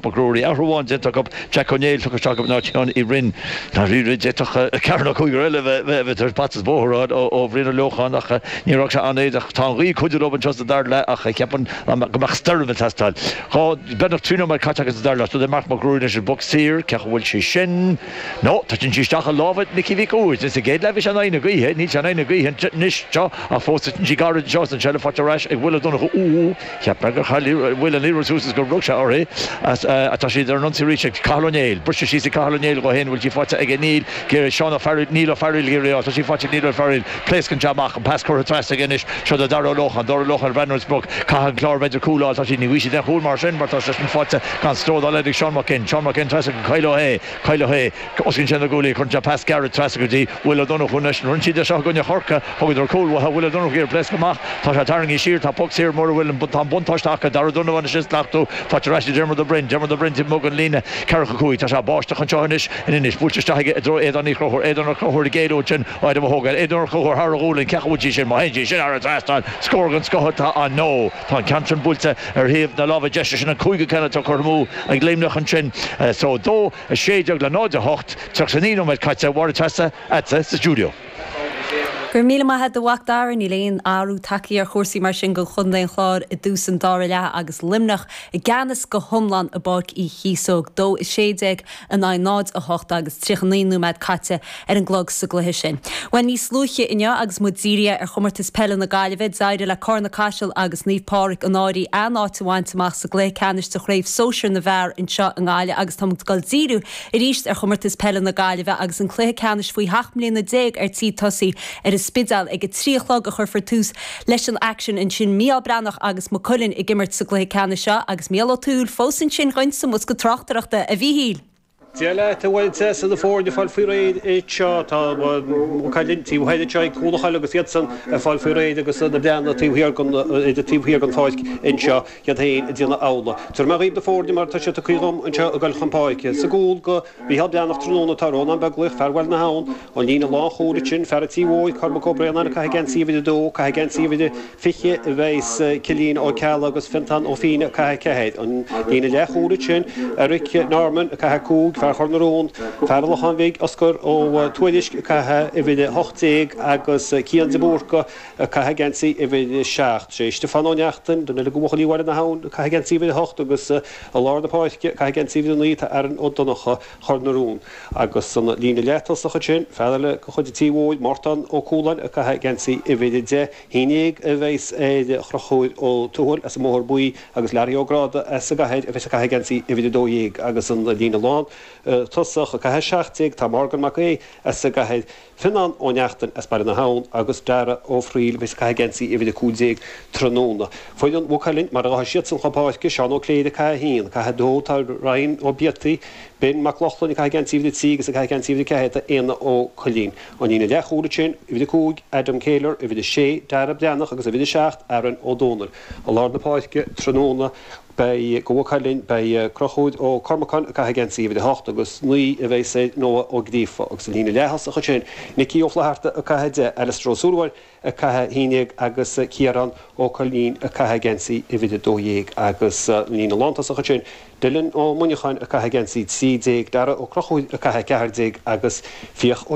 Mac Ruairí. Athrú amháin déanta acu, Jack Ó Néill tugtha isteach in áit Sheáin Uí Rinn. Dáiríre, d'fhéadfadh ceathrar nó cúigear eile a bheith tar éis bata is bóthar a fháil ó Bhrian Ó Leocháin ach níor fhág sé an-éadach. Tá an ghaoth ag cuidiú leo anseo sa dara leath ach ceapaim go mbeadh stoirm ag teastáil. Beagnach 3 nóiméad caite acu sa dara leath. Seo é Marc Mac Ruairí anois an bpoc saor. Cén chaoi a bhfuil sé sin? No, titeann sí isteach i lámha Nicky Mhic Uidhir. Sa gcéad leath bhí sé in aghaidh na gaoithe, níl sé in aghaidh na gaoithe anois seo ach fós titeann sí gairid anseo is an tseilbh faighte ar ais ag Will Ó Donnchú. Úúú, cheap mé gur chaill Will an liathróid suas is gur rug sé uirthi. Tá siad ar an ionsaí arís ag Cathal Ó Néill. Briseadh síos ag Cathal Ó Néill dhó féin, bhfuil sí faighte aige? Níl. Seán Ó Fearghaíl, Neil Ó Fearghaíl ag iarraidh í a fháil. Tá sí faighte ag Neil Ó Fearghaíl. Pléascann sé amach, an pas curtha trasna aige anois. Seo do Dara Ó Lócháin. Dara Ó Lócháin ag breathnú ar an sprioc. Caithfidh an Clár b'fhéidir cúl a fháil. Tá siad, ní bhfaighidh siad aon chúl mar sin mar tá sé sin faighte gan stró dá laghad ag Seán Mac Fhinn. Seán Mac Fhinn trasna go Kyle Ó hAodha. Kyle Ó hAodha. Osclaíonn sé na guaillí. Cuireann sé pas gairid trasna go dtí Will Ó Donnchú anois. Rinne siad é seo i gcoinne Chorcaí. Thugadar cúl uathu. Will Ó Donnchú ag iarraidh pléascadh amach. Tá sé tarraingthe siar. Tá poc saor mura bhfuil an tá an buntáiste acu. Dara Donovan anois ag slachtú. Faighte ar ais ag Diarmuid Ó Broin. Diarmuid Ó Broin taobh amuigh den líne. Ceathracha 5. Tá sé ag báisteach anseo anois in Inis. Buailte isteach aige i dtreo Aodáin Uí Chonchúir. Aodán Ó Conchúir ag éalú ansin ó Adam Ó hÓgáin. Aodán Ó Conchúir thar a ghualainn. Cén chaoi a bhfuil sí sin? Má théann sí sin thar an trasnán, scór den scoth atá ann. No. Tá an ceann sin buailte ar thaobh na láimhe deise. Sin an cúigiú ceann atá curtha amú ag Luimneach ansin. So 2, 16 le 0, 8, 39 nóiméad caite. Máire Treasa, agatsa sa stiúideo. Go raibh míle maith agat a Mhac Dara. Níl aon athrú tagtha ar chúrsaí mar sin do chontae an Chláir i dtús an dara leath agus Luimneach i gceannas go hiomlán i bPáirc Uí Chíosóg. 2, 16 in aghaidh 0, 8 agus 39 nóiméad caite ar an gclog sa gcluiche sin. Bhuel, níos luaithe inniu agus muid dírithe ar Chomórtas Peile na Gaillimhe, d'éirigh le Carna-Caiseal agus Naomh Pádraig an Fhairche a n-áit a bhaint amach sa gcluiche ceannais de Chraobh Sóisir na bhFear anseo i nGaillimh agus táimid ag dul díriú arís ar Chomórtas Peile na Gaillimhe agus an cluiche ceannais faoi sheacht mbliana déag ar tí tosaí ar an Spidéal ag a 3 a chlog a chuirfear tús leis an aicsean ansin. Mícheál Breathnach agus Maigh Cuilinn ag imirt sa gcluiche ceannais seo agus Mícheál Ó Tuathail fós ansin dhuinn sa mbosca tráchtaireachta. A Mhíchíl! Dia leat, a Mháire Treasa, na foirne ag fáil faoi réir anseo. Tá Maigh Cuilinn taobh thoir anseo ag Cúl an Choill agus iadsan ag fáil faoi réir agus na Breathnaigh taobh thiar den, taobh thiar den pháirc anseo, iad féin ag déanamh amhlaidh. Tabharfaidh mé dhaoibh na foirne mar atá siad tugtha dhom anseo ag goil chun páirce. Sa gcúl do Mhícheál Breathnach tráthnóna tá Rónán Beaglaoich, fear Bhaile na hAbhann, an líne lánchúil ansin, fear an Tí Mhóir, Cormac Ó Braonáin ag caitheamh geansaí uimhir 2, caitheamh geansaí uimhir 20 a bheas Cillian Ó Ceallaigh agus Fiontán Ó Fiaich ag caitheamh 4. An líne leathchúil ansin, Eric Norman ag caitheamh 5, fear Chor na Rón, fear an Locháin Bhig, Oscar Ó Tuairisg ag caitheamh uimhir 18 agus Cian de Búrca ag caitheamh geansaí uimhir 7. Sé Stiofán Ó Neachtain, duine eile de bhuachaillí Bhaile na hAbhann, ag caitheamh geansaí uimhir 8 agus i lár na páirce ag caitheamh geansaí uimhir 9 tá Aaron Ó Donnchadha Chor na Rón. Agus an líne leath-tosach ansin, fear eile de chuid an Tí Mhóir, Mártán Ó Cualáin ag caitheamh geansaí uimhir 10. 11 a bheas ar Chonchúr Ó Tuathail as an mBóthar Buí agus Learaí Ó Gráda as an gCathair a bheas ag caitheamh geansaí uimhir 12. Agus an líne lán tosach ag caitheamh 17 tá Morgan Mac Aoidh as an gCathair, Fionnán Ó Neachtain as Baile na hAbhann agus Dara Ó Frighil a bheas ag caitheamh geansaí uimhir 15 tráthnóna. Foireann Mhaigh Cuilinn mar a ghabhfaidh siadsan chun páirce, Seán Ó Cléirigh ag caitheamh 1, ag caitheamh 2 tá Ryan Ó Biataigh, Ben Mac Lochlainn ag caitheamh geansaí uimhir 3 agus ag caitheamh geansaí uimhir 4 tá Éanna Ó Cuilinn. An líne leathchúil ansin, uimhir 5, Adam Kehler, uimhir 6, Dara Breathnach agus uimhir 7, Aaron Ó Dónaill. I lár na páirce tráthnóna beidh do Mhaigh Cuilinn, beidh Conchúr Ó Cormacáin ag caitheamh geansaí uimhir 8 agus 9 a bheas ar Noah Ó Gríofa agus an líne leath-thosach ansin, Nicky Ó Flatharta ag caitheamh 10, Alistair Ó Súilleabháin ag caitheamh 11 agus Ciarán Ó Coilín ag caitheamh geansaí uimhir 12 agus an líne lántosach ansin, Dylan Ó Muineacháin ag caitheamh geansaí 13, Dara Ó Conchúir ag caitheamh 14 agus Fiach Ó.